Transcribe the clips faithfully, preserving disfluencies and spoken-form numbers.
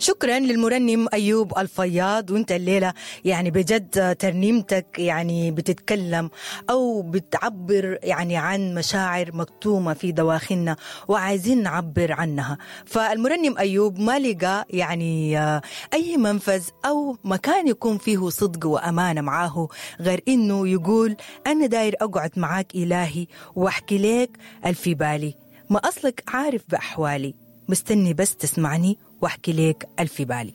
شكرا للمرنم أيوب الفياض. وانت الليلة يعني بجد ترنيمتك يعني بتتكلم أو بتعبر يعني عن مشاعر مكتومة في دواخلنا وعايزين نعبر عنها. فالمرنم أيوب ما لقى يعني أي منفذ أو مكان يكون فيه صدق وأمانة معاه غير إنه يقول أنا داير أقعد معاك إلهي وأحكي لك الفي بالي، ما أصلك عارف بأحوالي، مستني بس تسمعني واحكي لك الفي بالي.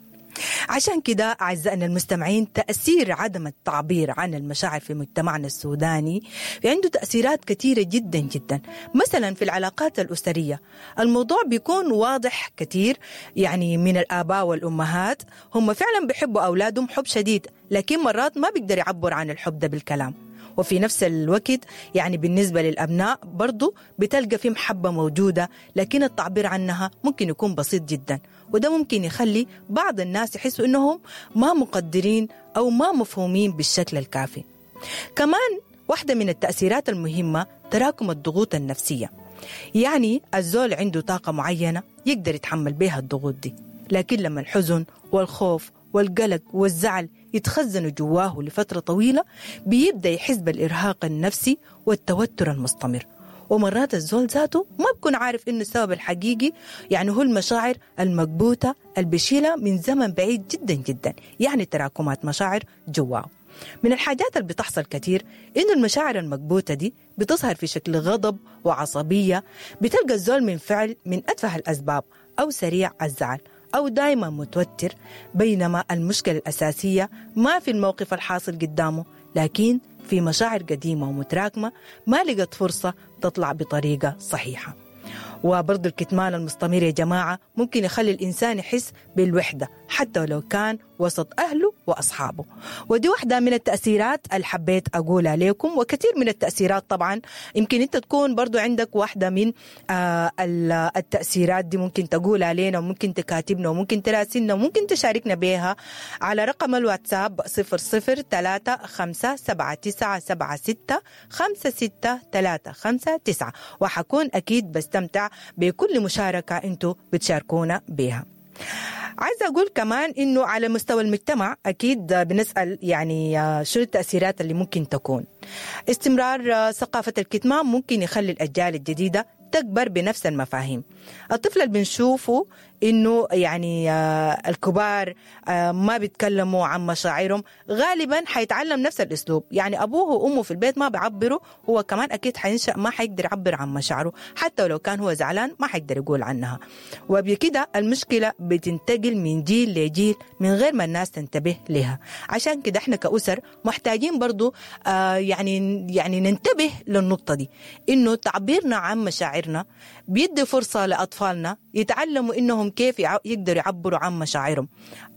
عشان كده أعزائنا المستمعين، تأثير عدم التعبير عن المشاعر في مجتمعنا السوداني عنده تأثيرات كثيرة جدا جدا. مثلا في العلاقات الأسرية الموضوع بيكون واضح كثير، يعني من الآباء والأمهات هم فعلا بيحبوا أولادهم حب شديد، لكن مرات ما بيقدر يعبر عن الحب ده بالكلام. وفي نفس الوقت يعني بالنسبة للأبناء برضو بتلقى في محبة موجودة، لكن التعبير عنها ممكن يكون بسيط جدا، وده ممكن يخلي بعض الناس يحسوا إنهم ما مقدرين أو ما مفهومين بالشكل الكافي. كمان واحدة من التأثيرات المهمة تراكم الضغوط النفسية، يعني الزول عنده طاقة معينة يقدر يتحمل بها الضغوط دي، لكن لما الحزن والخوف والقلق والزعل يتخزنوا جواه لفترة طويلة بيبدأ يحس بالإرهاق النفسي والتوتر المستمر. ومرات الزول ذاته ما بكون عارف إنه السبب الحقيقي يعني هو المشاعر المكبوتة البشيلة من زمن بعيد جدا جدا، يعني تراكمات مشاعر جواه. من الحاجات اللي بتحصل كتير إنه المشاعر المكبوتة دي بتظهر في شكل غضب وعصبية، بتلقى الزول من فعل من أتفه الأسباب أو سريع الزعل أو دايما متوتر، بينما المشكلة الأساسية ما في الموقف الحاصل قدامه، لكن في مشاعر قديمة ومتراكمة ما لقت فرصة تطلع بطريقة صحيحة. وبرضو الكتمان المستمر يا جماعة ممكن يخلي الإنسان يحس بالوحدة حتى لو كان وسط أهله وأصحابه. ودي واحدة من التأثيرات اللي حبيت أقولها لكم، وكثير من التأثيرات طبعا يمكن أنت تكون برضو عندك واحدة من آه التأثيرات دي، ممكن تقولها لنا وممكن تكاتبنا وممكن تراسلنا وممكن تشاركنا بها على رقم الواتساب صفر صفر ثلاثة خمسة سبعة تسعة سبعة ستة خمسة ستة ثلاثة خمسة تسعة، وحكون أكيد بستمتع بكل مشاركة أنتوا بتشاركونا بها. عايزة أقول كمان إنه على مستوى المجتمع أكيد بنسأل يعني شو التأثيرات اللي ممكن تكون. استمرار ثقافة الكتمان ممكن يخلي الأجيال الجديدة تكبر بنفس المفاهيم. الطفل اللي بنشوفه إنه يعني الكبار ما بيتكلموا عن مشاعرهم غالبا حيتعلم نفس الأسلوب، يعني أبوه وأمه في البيت ما بيعبروا، هو كمان أكيد حينشأ ما حيقدر يعبر عن مشاعره، حتى لو كان هو زعلان ما حيقدر يقول عنها. وبكده المشكلة بتنتقل من جيل لجيل من غير ما الناس تنتبه لها. عشان كده احنا كأسر محتاجين برضو آه يعني يعني ننتبه للنقطة دي، إنه تعبيرنا عن مشاعرنا بيدي فرصة لأطفالنا يتعلموا إنهم كيف يقدروا يعبروا عن مشاعرهم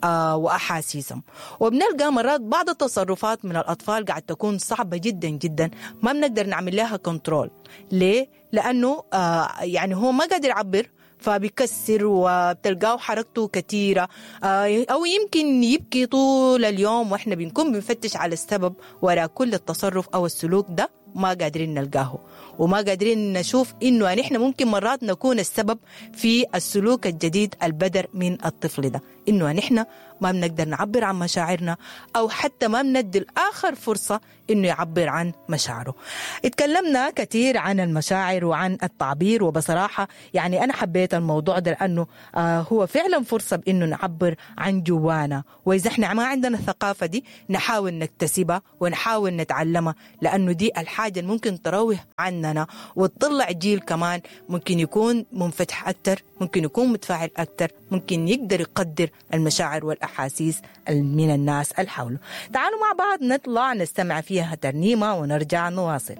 آه وأحاسيسهم. وبنلقى مرات بعض التصرفات من الأطفال قاعد تكون صعبة جدا جدا، ما بنقدر نعمل لها كنترول. ليه؟ لأنه آه يعني هو ما قادر يعبر، فبيكسر وبتلقاه حركته كثيرة، أو يمكن يبكي طول اليوم، وإحنا بنكون بنفتش على السبب وراء كل التصرف أو السلوك ده ما قادرين نلقاه، وما قادرين نشوف إنه نحن ممكن مرات نكون السبب في السلوك الجديد البدر من الطفل ده، إنه نحن ما بنقدر نعبر عن مشاعرنا أو حتى ما بندي الآخر فرصة إنه يعبر عن مشاعره. اتكلمنا كثير عن المشاعر وعن التعبير، وبصراحة يعني أنا حبيت الموضوع ده لأنه آه هو فعلا فرصة بإنه نعبر عن جوانا، وإذا إحنا ما عندنا الثقافة دي نحاول نكتسبها ونحاول نتعلمها، لأنه دي الحاجة اللي ممكن تروه عننا وتطلع جيل كمان ممكن يكون منفتح أكتر، ممكن يكون متفاعل أكتر، ممكن يقدر يقدر المشاعر والأحاسيس من الناس اللي حوله. تعالوا مع بعض نطلع نستمع فيها ترنيمة ونرجع نواصل.